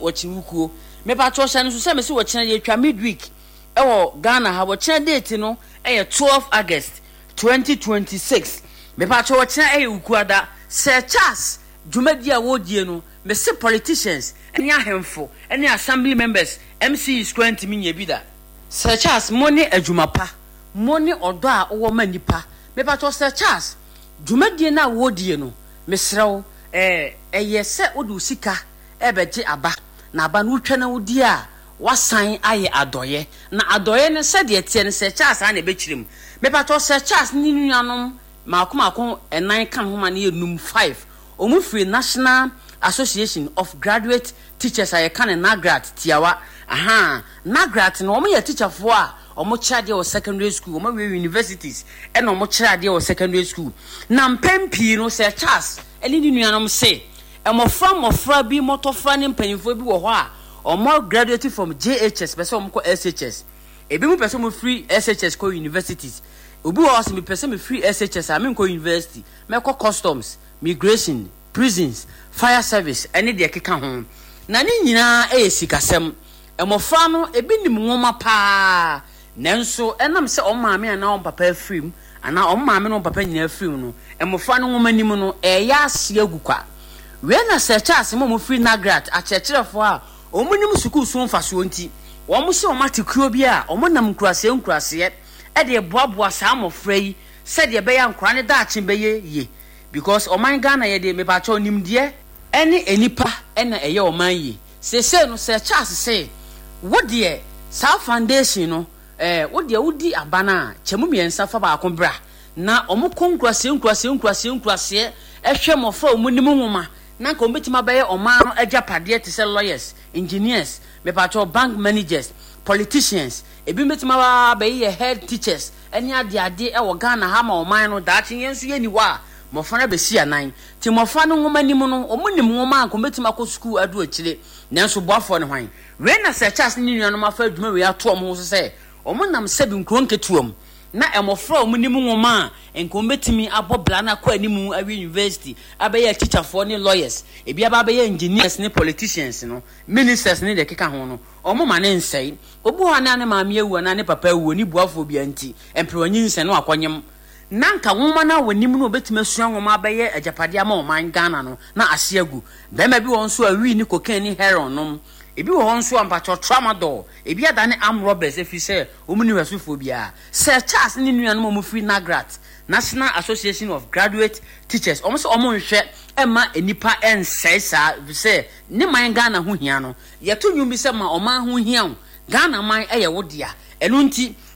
Wɔkye wukuo. Mepakyɛw hyɛ no nso sɛ mese wɔkyena yɛtwa midweek ɛwɔ Ghana ha. Wɔkyena date no ɛyɛ 12 August 2026. Mepakyɛw wɔkyena ɛyɛ wukuada. Sir Charles dwumadi a wɔredie no, mese politicians ne ahemfo ne assembly members, MCEs koraa ntumi nyɛ bi da. Sir Charles mo ne adwuma pa, mo ne ɔdɔ a wowɔ ma nnipa. Mepakyɛw Sir Charles dwumadie no a wɔredie no, mesrɛ wo ɛɛ ɛyɛ sɛ wode wo sika rebɛgye aba, na aba no wotwa na wodi a, woasan ayɛ adɔeɛ. Na adɔeɛ no sɛdeɛ ɛteɛ no, Sir Charles ara na ɛbɛkyerɛ mu. Mepakyɛw, Sir Charles ne ne nuanom mmaako mmaako nnan ka ne ho ma no yɛ num, five. Wɔfiri National Association of Graduate Teachers a yɛka no NAGRAT tiawa. Ahaa, NAGRAT no, wɔyɛ atikyafoɔ a wɔkyerɛ adeɛ wɔ secondary school, wɔawie universities ɛna wɔkyerɛ adeɛ wɔ secondary school. Na mpɛn pii no, Sir Charles ne ne nuanom se, Mmɔfra mmɔfra bi, mmɔtɔfra ne mpanyimfoɔ bi wɔ hɔ a wɔn graduate from JHS pɛ sɛ wɔn kɔ SHS. Ebinom pɛ sɛ wɔn firi SHS kɔ universities. Obi wɔ hɔ a ɔsɛ mepɛ sɛ mefiri SHS a menkɔ university, mɛkɔ customs, migration, prisons, fire service ɛne deɛ ɛkeka ho. Na ne nyinaa yɛ sikasɛm. Mmɔfra no ebi nim nwoma paa Nanso ɛnam sɛ wɔn maame anaa wɔn papa afiri mu, anaa wɔn maame ne wɔn papa nyinaa afiri mu no, mmofra no nwomanim no reyɛ ase agu kwa. Wei na Sir Charles ma wɔfiri Nagrat, akyerɛkyerɛfoɔ a wɔnim sukuu so mfasoɔ nti, wɔse wɔate kuo bi a wɔnam nkuraseɛ nkuraseɛ de reboaboa saa mmɔfra yi sɛdeɛ ɛbɛyɛ a nkwadaa no daakye bɛyɛ yie because ɔman Ghana yɛde, mepakyɛw, nimdeɛ ne nnipa na ɛyɛ ɔman yie. Seesei no Sir Charles se, Wo deɛ, saa foundation no, eh, wo deɛ wodi aba no a, kyɛ mu mmiɛnsa fa baako bra. Na wɔkɔ nkuraseɛ nkuraseɛ nkuraseɛ nkuraseɛ hwɛ mmɔfra a wɔnim nwoma na anka wɔbɛtumi abɛyɛ ɔman no agyapadeɛ te sɛ lawyers, engineers, mepakyɛw, bank managers, politicians, ebinom bɛtumi aba abɛyeyɛ head teachers ne adeade wɔ Ghana ha ma ɔman no, daakye yɛn nso yɛnni hɔ a, mmɔfra no abɛsi anan. Nti mmɔfra no nwoma nim no, wɔnim nwoma a anka wɔbɛtumi akɔ sukuu adu akyire, nanso boafoɔ ne hwan? Wei na Sir Charles ne ne nuanom afa adwuma wei ato wɔn ho so sɛ wɔnam sɛbi nkuro nketewa mu na mmɔfra a wɔnim nwoma a anka wɔbɛtumi abɔ bra no akɔ anim awie university abɛyɛ atikyafoɔ ne lawyers, ebi aba abɛyɛ engineers ne politicians no, ministers ne deɛ ɛkeka ho no, wɔmma no nsɛe. Obi wɔ hɔ a na ne maame awu anaa ne papa awu, ɔnni boafoɔ biara nti, mperewa nyinsɛn na wakɔnyem. Na anka nwoma no a wɔnim no wɔbɛtumi asua nwoma abɛyɛ agyapadeɛ ama ɔman Ghana no na ase agu. Barima bi wɔ hɔ nso a wii ne cocaine ne heroin nom. Ebi wɔ hɔ nso a mpakyɛw tramadol. Ebi adane armed robbers ɛfiri sɛ wɔn nni hwɛsofoɔ biara. Sir Charles ne ne nuanom a wɔfiri NAGRAT, National Association of Graduate Teachers, wɔn sɛ wɔn nhwɛ mma nnipa nsɛe saa ɛfiri sɛ ne man Ghana ho hia no. Yɛto nnwom bi sɛ ma ɔman ho hia wo, Ghana man yɛ wo dea. Ɛno nti.